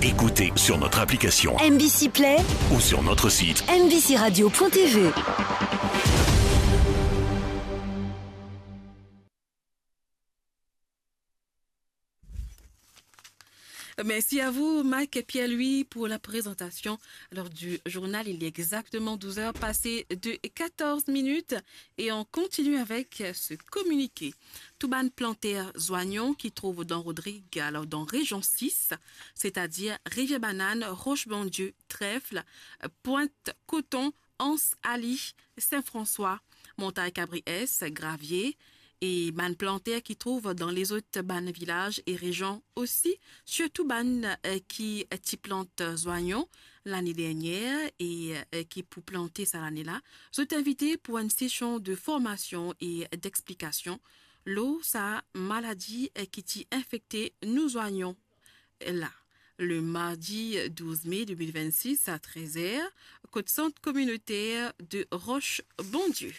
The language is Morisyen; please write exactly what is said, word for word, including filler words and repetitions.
Écoutez sur notre application M B C Play ou sur notre site M B C radio point T V. Merci à vous, Mike et Pierre-Louis, pour la présentation, alors, du journal. Il est exactement douze heures passées de quatorze minutes et on continue avec ce communiqué. Tou bann planter zwayon ki trouv dan Rodrig, alors dan région six, c'est-à-dire Rivière Banane, Roche Bondieu, Trèfle, Pointe Coton, Anse Ali, Saint-François, Montagne Cabriès, Gravier, e bann planter ki trouv dan lezot bann vilaz e rezion osi, sirtou bann, eh, ki ti plant zwayon lane dernier e, eh, ki pou plante sa lane la, zot invite pou enn sesion de formasion e d'explikasion lor sa maladi, eh, ki ti infekte nou zwayon la, le mardi douze mai deux mille vingt-six à treize heures, kot sant kominoter de Roche Bondieu.